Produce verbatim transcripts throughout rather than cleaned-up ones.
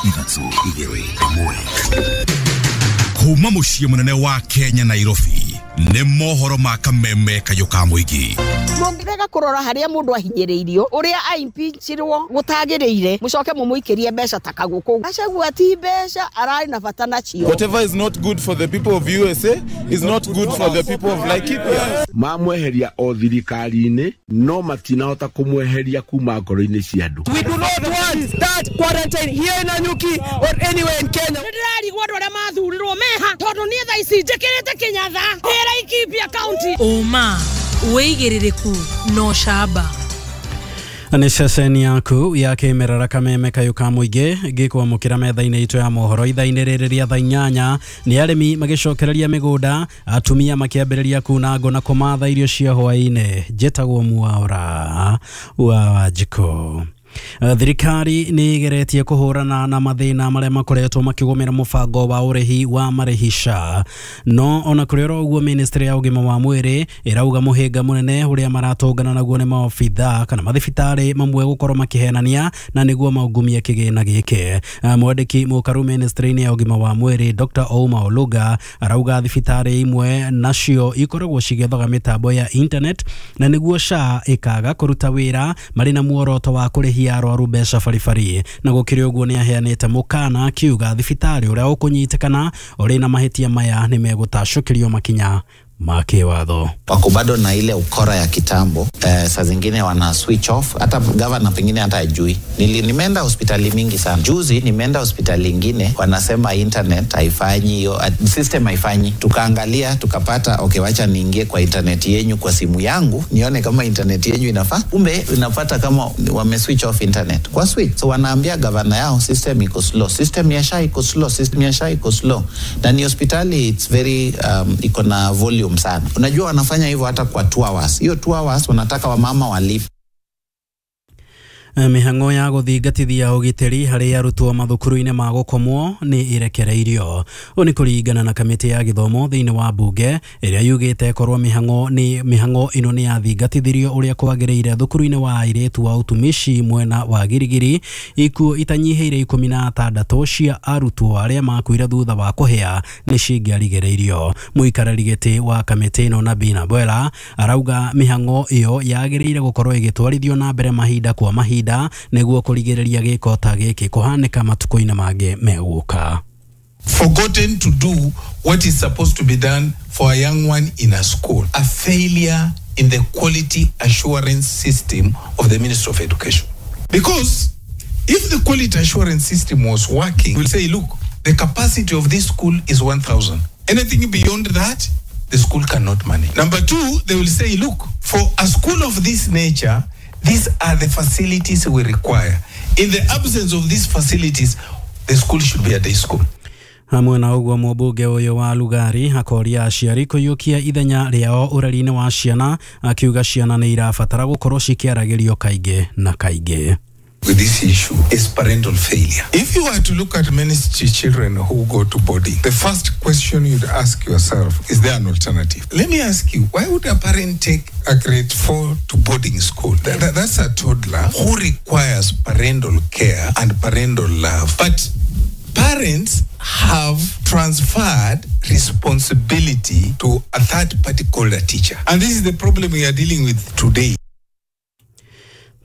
Ithatũ, igĩrĩ, ĩmwe. Kuma mũciĩ mũnene wa Kenya, Nairobi, nĩ mohoro ma kameme kayũ ka mũingĩ. Mũngĩrega kũrora harĩa mũndũ ahinyĩrĩirio, ũrĩa aimpeachirwo gũtagĩrĩire, mũcoke mũmũikĩrie mbeca ta kagũkũ. Gachagua ti mbeca ararĩ na bata nacio. Whatever is not good for the people of U S A is not good for the people of Laikipia. Mamweheria o thirikari-inĩ, no matinahota kũmweheria kuma ngoro-inĩ cia andũ. We do not want that quarantine here in Nanyuki or anywhere in Kenya. Nĩ ndĩrarigwo andũ arĩa mathurirwo meha, tondũ niĩ thaa ici njĩkĩrĩte kĩnyatha ndĩ Laikipia County. Ũma, wĩigĩrĩrĩku na ũcamba. Nĩ ceceni yaku ya kĩmerera kameme kayũ ka mũingĩ ngĩkwamũkĩra metha-inĩ itũ ya mohoro ithaa-inĩ rĩrĩ rĩa thaa inyanya. Nĩ arĩmi magĩcokereria mĩgũnda, atumia makĩambĩrĩria kuna ngũ na kũmatha irio cia hwaĩ-inĩ. Njĩtagwo Mwaũra wa Wanjikũ. Thirikari nĩ ĩgeretie kũhũrana na mathĩna marĩa makoretwo makĩgũmĩra mũbango wa ũrĩhi wa marĩhi S H A, no ona kũrĩ oro ũguo, ministry ya ũgima wa mwĩrĩ ĩrauga mũhĩnga mũnene ũrĩa maratũngana naguo nĩ maobitha kana mathibitarĩ mamwe gũkorwo makĩhenania na nĩguo maungumie kĩgĩna gĩkĩ. Mwandĩki mũkaru ministry-inĩ ya ũgima wa mwĩrĩ, Doctor Ouma Oluga, arauga thibitarĩ imwe nacio ikoragwo cigĩethaga mĩtambo ya internet na nĩguo S H A ĩkaga kũruta wĩra marĩ na muoroto wa kũrĩhia arwaru mbeca baribari. Na gũkĩrĩ ũguo, nĩ aheanĩte mũkana akiuga thibitarĩ ũrĩa ũkũnyitĩkana ũrĩ na mahĩtia maya nĩ megũtacũkĩrio makinya ma kĩwatho. Wako bado na ile ukora ya kitambo. Eh, saa zingine wana switch off, hata gavana pengine hata ajui. Nili, nimeenda hospitali mingi sana. Juzi nimeenda hospitali ingine, wanasema internet haifanyi hiyo system haifanyi. Tukaangalia tukapata, okay, wacha niingie kwa internet yenyu kwa simu yangu nione kama internet yenyu inafaa. Kumbe unapata kama wame switch off internet kwa switch. So wanaambia gavana yao system iko slow, system ya S H A iko slow, system ya S H A iko slow. Na ni hospitali it's very um, iko na volume sana. Unajua wanafanya hivyo hata kwa two hours. Hiyo two hours wanataka wamama walipe. Mĩhang'o ya gũthingatithia ũgitĩri harĩ arutwo mathukuru-inĩ ma gũkomwo nĩ ĩrekereirio. Ũũ nĩ kũringana na kamĩtĩ ya gĩthomo thĩinĩ wa mbunge, ĩrĩa yugĩte korwo mĩhang'o nĩ mĩhang'o ĩno nĩ yathingatithirio ũrĩa kwagĩrĩire thukuru-inĩ wa airĩtu wa utumishi mwena wa Girigiri, ikuũ itanyihĩire ikũmi na atandatũ cia arutwo arĩa makuire thutha wa kũhĩa nĩ cingĩarigĩrĩirio. Mũikarĩri gĩtĩ wa kamĩtĩ ĩno, Nabina Bwela, arauga mĩhang'o ĩyo yagĩrĩire gũkorwo ĩgĩtwarithio na mbere mahinda kwa mahinda nĩguo kũrigĩrĩria gĩko ta gĩkĩ kũhanĩka matukũ-inĩ mangĩ megũka. Forgotten to do what is supposed to be done for a young one in a school. A failure in the quality assurance system of the Ministry of Education. Because if the quality assurance system was working, we'll say, look, the capacity of this school is one thousand. Anything beyond that, the school cannot manage. Number two, they will say, look, for a school of this nature, these are the facilities we require. In the absence of these facilities, the school should be a day school. Hamwe na ũguo, mũmbunge ũyũ wa Lugari akoria aciari kũiyũkia ithenya rĩao ũreri-inĩ wa ciana, akiuga ciana nĩ irabatara gũkorwo cikĩaragĩrio kaingĩ na kaingĩ. With this issue is parental failure. If you were to look at many ch- children who go to boarding, the first question you'd ask yourself, is there an alternative? Let me ask you, why would a parent take a grade four to boarding school? That, that- that's a toddler who requires parental care and parental love. But parents have transferred responsibility to a third party called a teacher. And this is the problem we are dealing with today.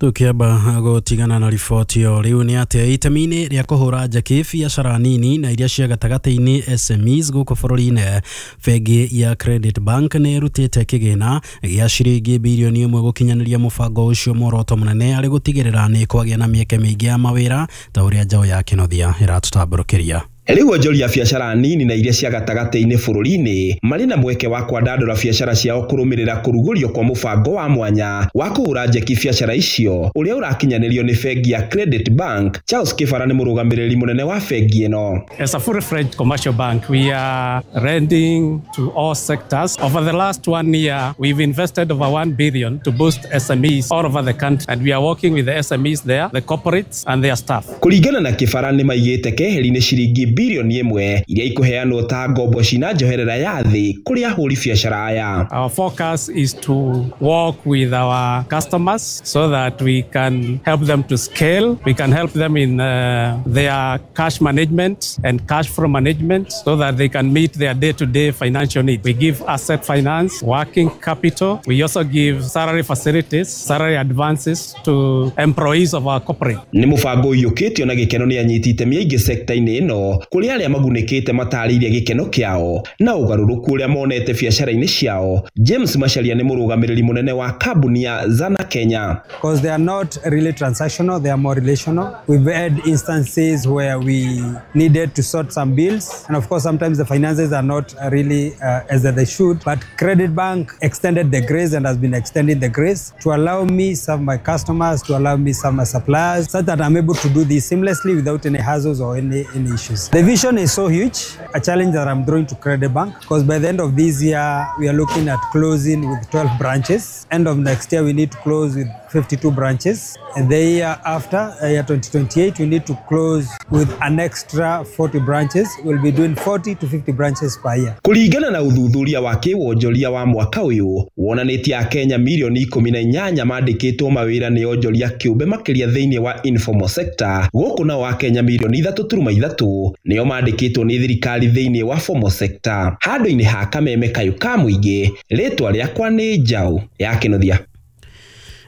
Tukiamba gũtigana na riboti ĩyo, rĩu nĩ atĩa itemi-inĩ rĩa kũhũra njeki biacara nini na iria cia gatagatĩ-inĩ, S M Es, gũkũ bũrũri-inĩ, bengi ya Credit Bank nĩ ĩrutĩte kĩgĩna gĩa ciringi birioni ĩmwe gũkinyanĩria mũbango ũcio, muoroto mũnene arĩ gũtigĩrĩra nĩ kwagĩa na mĩeke mĩingĩ ya mawĩra, ta ũrĩa njaũ ya Kĩnothia ĩratũtambũrũkĩria. Rĩu onjoria biacara nini na iria cia gatagatĩ-inĩ bũrũri-inĩ marĩ na mweke wa kwandandũra biacara ciao kũrũmĩrĩra kũrugũrio kwa mũbango wa mwanya wa kũhũra njeki biacara icio ũrĩa ũrakinyanĩrio nĩ bengi ya Credit Bank. Charles Kĩbara nĩ mũrũgamĩrĩri mũnene wa bengi ĩno. As a fully-fledged commercial bank, we are lending to all sectors. Over the last one year, we've invested over one billion to boost S M Es all over the country. And we are working with the S M Es there, the corporates and their staff. Kũringana na Kĩbara, nĩ maigĩte keheri-inĩ ciringi bilioni ĩmwe iria ikuheanwo ta ngombo cina njoherera ya thĩ kũrĩ ahũri biacara aya. Our focus is to work with our customers so that we can help them to scale, we can help them in uh, their cash management and cash flow management so that they can meet their day-to-day financial needs. We give asset finance, working capital. We also give salary facilities, salary advances to employees of our corporate. Nĩ mũbango ũiyũkĩtio na gĩkeno nĩ anyiti itemi aingĩ sekta-inĩ ĩno kũrĩ arĩa magunĩkĩte matarĩirie gĩkeno kĩao na ũgarũrũku ũrĩa monete biacara-inĩ ciao. James Macharia nĩ mũrũgamĩrĩri mũnene wa kambuni ya Zana Kenya. Because they are not really transactional, they are more relational. We've had instances where we needed to sort some bills, and of course sometimes the finances are not really uh, as they should, but Credit Bank extended the grace and has been extending the grace to allow me serve my customers, to allow me serve my suppliers, so that I'm able to do this seamlessly without any hassles or any, any issues. The vision is so huge, a challenge that I'm throwing to Credit Bank, because by the end of this year, we are looking at closing with twelve branches. End of next year, we need to close with fifty-two branches. And the year after, year twenty twenty-eight, we need to close with an extra forty branches. We'll be doing forty to fifty branches per year. Kũringana na ũthuthuria wa kĩwonjoria wa mwaka ũyũ wonanĩtie Akenya milioni ikũmi na inyanya mandĩkĩtwo mawĩra nĩ onjoria kĩũmbe makĩria thĩinĩ wa informal sector, gũkũ nao Akenya milioni ithatũ turuma ithatũ nĩo mandĩkĩtwo nĩ thirikari thĩinĩ wa formal sector. Handũ-inĩ ha kameme kayũ ka mũingĩ, rĩtwa rĩakwa nĩ Njaũ ya Kĩnuthia.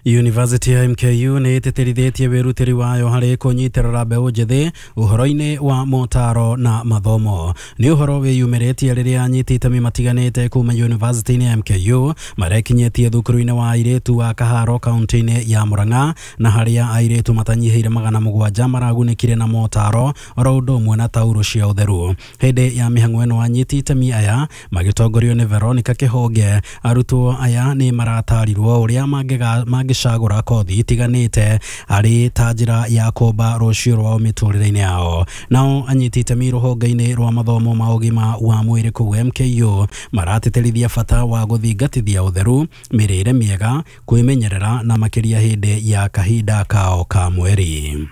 University ya M K U nĩ ĩtĩtĩrithĩtie wĩrutĩri wayo harĩ kũnyitĩrĩra mbeũ njĩthĩ ũhoro-inĩ wa motaro na mathomo. Nĩ ũhoro wĩyumĩrĩtie rĩrĩa anyiti itemi matiganĩte kuma University-inĩ ya M K U marekinyĩtie thukuru-inĩ wa airĩtu wa Kaharo kaunti-inĩ ya Murang'a, na harĩa airĩtu matanyihĩire magana mũgwanja maragunĩkire na motaro oro ũndũ ũmwe na tauro cia ũtheru. Hĩndĩ ya mĩhang'o ĩno anyiti itemi aya magĩtongorio nĩ Veronica Kĩhonge, arutwo aya nĩ maratarirwo ũrĩa mangĩga cagũra kothi itiganĩte arĩ ta njĩra ya kũmba rũciũ rwao mĩtũrĩre-inĩ yao. Nao anyiti itemi rũhonge-inĩ rwa mathomo ma ũgima wa mwĩrĩ kũu M K U maratĩtĩrithia bata wa gũthingatithia ũtheru, mĩrĩre mĩega, kwĩmenyerera na makĩria hĩndĩ ya kahinda kao ka mweri.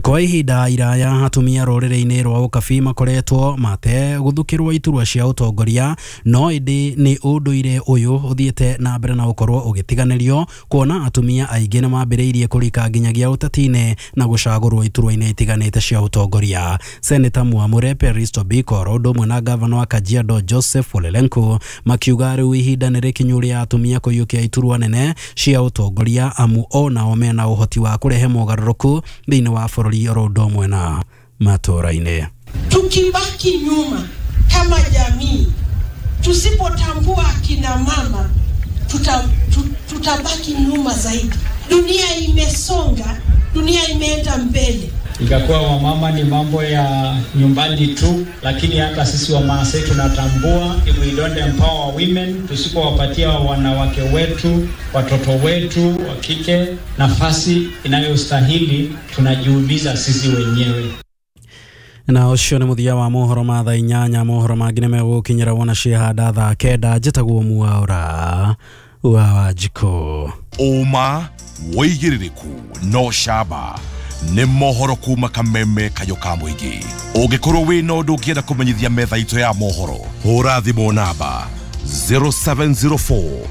Kwa ihinda iraya atumia rũrĩrĩ-inĩ rwa Ũkabi makoretwo mate gũthukĩrwo iturwa cia ũtongoria, no ĩndĩ nĩ ũndũire ũyũ ũthiĩte na mbere na ũkorwo ũgĩtiganĩrio kuona atumia aingĩ nĩ mambĩrĩirie kũrika nginyagia ũteti-inĩ na gũcagũrwo iturwa-inĩ itiganĩte cia ũtongoria. Seneta Mwamure Peristo Biko ũndũ ũmwe na gavana wa Kajiado Joseph Ole Lenku makiuga rĩu ihinda nĩ rĩkinyu rĩa atumia kũiyũkia iturwa nene cia ũtongoria, amu onao mena ũhoti wa kũrehe mogarũrũku thĩinĩ wa bũrũri oro ũndũ ũmwe na matũũra-inĩ. Tukibaki nyuma kama jamii, tusipotambua akina mama tuta, tutabaki nyuma zaidi. Dunia imesonga, dunia imeenda mbele. Ikakuwa wamama ni mambo ya nyumbani tu, lakini hata sisi wa Maasai tunatambua if we don't empower women, tusipowapatia wanawake wetu, watoto wetu wa kike nafasi inayostahili, tunajiumiza sisi wenyewe. Na ũcio nĩ mũthia wa mohoro ma thaa inyanya. Mohoro mangĩ nĩ megũkinyĩra wona ciahanda thaa kenda. Njĩtagwo Mwaura wa Wanjikũ. Ũma wĩigĩrĩrĩku no camba nĩ mohoro kuma kameme kayũ ka mũingĩ. Ũngĩkorwo wĩna ũndũ ũngĩenda kũmenyithia metha itũ ya mohoro, hũra thimũ namba zero seven zero four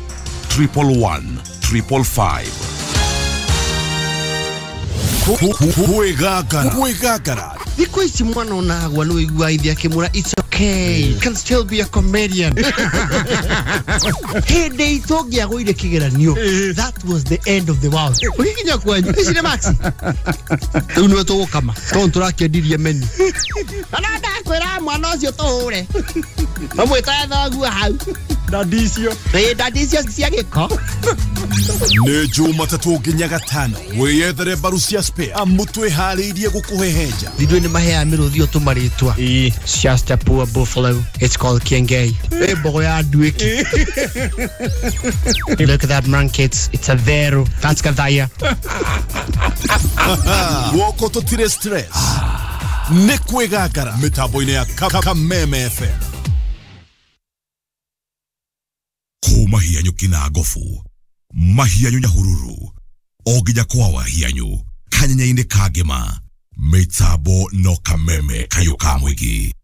triple one triple five. Kwĩgangara kwĩgangara thikũ ici mwana onagwa nĩ ũiguaga ithe akĩmwĩra it's okay, you can still be a comedian. Hĩndĩ itũ ũngĩagũire kĩgeranio, that was the end of the world. Ũgĩkinya kwanyu ici nĩ maxi rĩu nĩwe tũgũkama tondũ tũrakĩendirie menu. Na ndakwĩra mwana ũcio tũhũre mamwĩtae thoguo hau ndandi icio ĩĩ ndandi icio cia gĩko. Nĩ Jumatatũ nginya Gatano wĩyethere mbaru cia spare amu twĩharĩirie gũkũhehenja. Ithuĩ nĩ maheaga mĩrũthi ũyũ tũmarĩtwa. It's just a poor buffalo, it's called Kiengei. Ĩ mbogo ya nduĩki. Look at that monkey, it's, it's a vero, that's Gathaya. Guoko tũtirĩ stress nĩ kwĩgangara mĩtambo-inĩ ya Kameme F M. Kuma hianyu kina gofu mahianyu Nyahururu o nginya kwa wahianyu kanyenya-inĩ ka ngĩma Mĩtambo no kameme kayũ ka mũingĩ.